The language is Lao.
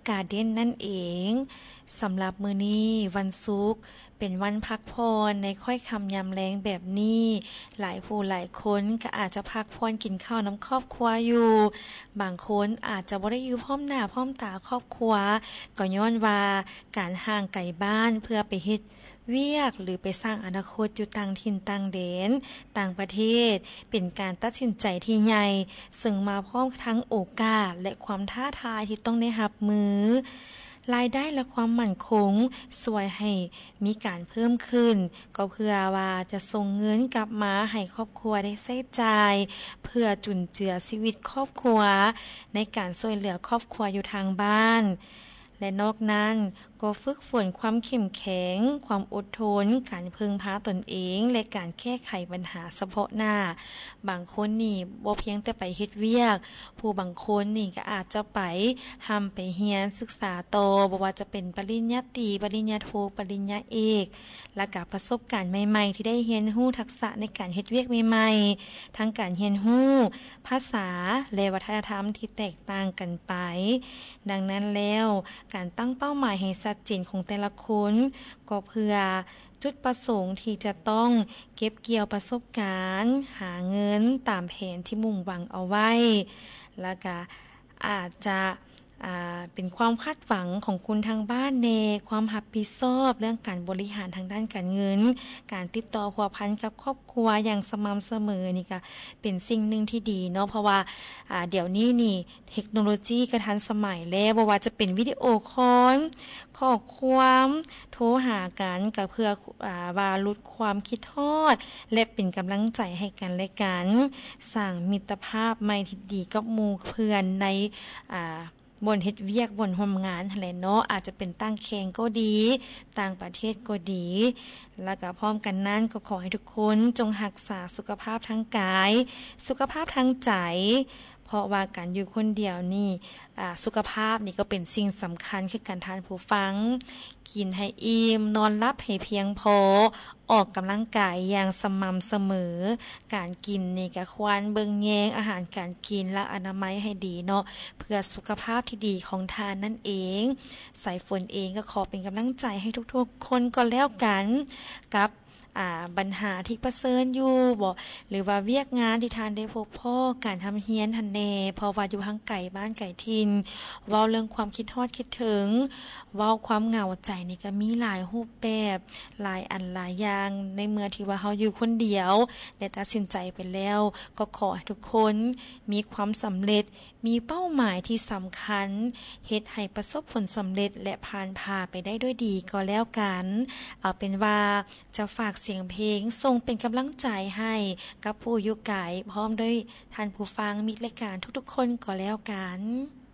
Garden ນັ້ນເອງ. ສຳລັບມື້ນີ້ວັນສຸກ ເປັນວັນພັກຜ່ອນໃນຄ້ອຍຄ່ຳຍາມແລງແບບນີ້, ຫຼາຍຜູ້ຫຼາຍຄົນກໍອາດຈະພັກຜ່ອນກິນເຂົ້ານຳຄອບຄົວຢູ່, ບາງຄົນອາດຈະບໍ່ໄດ້ຢູ່ພ້ອມໜ້າພ້ອມຕາຄອບຄົວ, ກໍຍ້ອນວ່າການຫ່າງໄກບ້ານເພື່ອໄປເຮັດວຽກ ຫຼື ໄປສ້າງອະນາຄົດຢູ່ຕ່າງຖິ່ນຕ່າງແດນ, ຕ່າງປະເທດ ເປັນການຕັດສິນໃຈທີ່ໃຫຍ່, ເຊິ່ງມາພ້ອມທັງໂອກາດ ແລະ ຄວາມທ້າທາຍທີ່ຕ້ອງໄດ້ຮັບມື. ລາຍໄດ້ ແລະ ຄວາມໝັ້ນຄົງຊ່ວຍໃຫ້ມີການເພີ່ມຂຶ້ນ, ກໍເພື່ອວ່າຈະສົ່ງເງິນກັບມາໃຫ້ຄອບຄົວໄດ້ໃຊ້ຈ່າຍ, ເພື່ອຈຸນເຈືອຊີວິດຄອບຄົວ, ໃນການຊ່ວຍເຫຼືອຄອບຄົວຢູ່ທາງບ້ານ ແລະ ນອກນັ້ນກໍຝຶກຝົນຄວາມເຂັ້ມແຂງ, ຄວາມອົດທົນ, ການເພິ່ງພາຕົນເອງ ແລະ ການແກ້ໄຂບັນຫາສະເພາະໜ້າ. ບາງຄົນນີ້ບໍ່ພຽງແຕ່ໄປເຮັດວຽກ, ຜູ້ບາງຄົນນີ້ກໍອາດຈະໄປຮ່ຳໄປຮຽນສຶກສາຕໍ່, ບໍ່ວ່າຈະເປັນປະລິນຍາຕີ, ປະລິນຍາໂທ, ປະລິນຍາເອກ, ແລ້ວກໍປະສົບການໃໝ່ໆ ທີ່ໄດ້ຮຽນຮູ້ທັກສະໃນການເຮັດວຽກໃໝ່ໆ, ທັງການຮຽນຮູ້ພາສາ ແລະ ວັດທະນະທຳທີ່ແຕກຕ່າງກັນໄປ. ດັ່ງນັ້ນແລ້ວ, ການຕັ້ງເປົ້າໝາຍໃຫ້ຊັດເຈນຂອງແຕ່ລະຄົນ ກໍເພື່ອຈຸດປະສົງທີ່ຈະຕ້ອງເກັບກ່ຽວປະສົບການ, ຫາເງິນຕາມແຜນທີ່ມຸ່ງຫວັງເອົາໄວ້, ແລ້ວກະອາດຈະ ອ່າ ເປັນຄວາມຄາດຫວັງຂອງຄົນທາງບ້ານແດ່, ຄວາມຮັບຜິດຊອບເລື່ອງການບໍລິຫານທາງດ້ານການເງິນ, ການຕິດຕໍ່ພົວພັນກັບຄອບຄົວຢ່າງສະໝ່ຳສະເໝີນີ້ກະເປັນສິ່ງໜຶ່ງທີ່ດີເນາະ, ເພາະວ່າ ອ່າ ດຽວນີ້ນີ້ເທັກໂນໂລຈີກໍທັນສະໄໝແລ້ວ, ບໍ່ວ່າຈະເປັນວິດີໂອຄອນ, ຂໍ້ຄວາມ, ໂທຫາກັນ, ກໍເພື່ອ ອ່າ ວ່າຫຼຸດຄວາມຄິດຮອດ ແລະ ເປັນກຳລັງໃຈໃຫ້ກັນແລະກັນ, ສ້າງມິດຕະພາບໃໝ່ທີ່ດີກັບໝູ່ເພື່ອນໃນ ອ່າ ບ່ອນເຮັດວຽກ, ບ່ອນຮ່ວມງານຫັ້ນແຫຼະເນາະ, ອາດຈະເປັນຕ່າງແຂວງກໍດີ, ຕ່າງປະເທດກໍດີ. ແລ້ວກໍພ້ອມກັນນັ້ນ ກໍຂໍໃຫ້ທຸກຄົນຈົ່ງຮັກສາສຸຂະພາບທາງກາຍ, ສຸຂະພາບທາງໃຈ, ເພາະວ່າການຢູ່ຄົນດຽວນີ້ ອ່າ ສຸຂະພາບນີ້ກໍເປັນສິ່ງສຳຄັນຄືກັນທ່ານຜູ້ຟັງ. ກິນໃຫ້ອີ່ມ, ນອນຫຼັບໃຫ້ພຽງພໍ, ອອກກຳລັງກາຍຢ່າງສະໝ່ຳສະເໝີ. ການກິນນີ້ກໍຄວນເບິ່ງແຍງອາຫານການກິນ ແລະ ອະນາໄມໃຫ້ດີເນາະ, ເພື່ອສຸຂະພາບທີ່ດີຂອງທ່ານນັ້ນເອງ. ສາຍຝົນເອງກໍຂໍເປັນກຳລັງໃຈໃຫ້ທຸກໆຄົນກໍແລ້ວກັນ ກັບ ອ່າ ບັນຫາທີ່ປະເຊີນຢູ່ບໍ ຫຼືວ່າວຽກງານທີ່ທ່ານໄດ້ພົບພໍ້, ການຮ່ຳຮຽນຫັ້ນແດ່, ເພາະວ່າຢູ່ຫ່າງໄກບ້ານໄກຖິ່ນ, ເວົ້າເລື່ອງຄວາມຄິດຮອດຄິດເຖິງ, ເວົ້າຄວາມເຫງົາໃຈນີ້ກໍມີຫຼາຍຮູບແບບ, ຫຼາຍອັນຫຼາຍຢ່າງ. ໃນເມື່ອທີ່ວ່າເຮົາຢູ່ຄົນດຽວ ແລະ ຕັດສິນໃຈໄປແລ້ວ, ກໍຂໍໃຫ້ທຸກຄົນມີຄວາມສຳເລັດ, ມີເປົ້າໝາຍທີ່ສຳຄັນ, ເຮັດໃຫ້ປະສົບຜົນສຳເລັດ ແລະ ຜ່ານຜ່າໄປໄດ້ດ້ວຍດີກໍແລ້ວກັນ. ເອົາເປັນວ່າຈະຝາກສຽງເພງສົ່ງເປັນກຳລັງໃຈໃຫ້ກັບຜູ້ຢູ່ໄກ ພ້ອມດ້ວຍທ່ານຜູ້ຟັງມິດລາຍການທຸກໆຄົນກໍແລ້ວກັນ.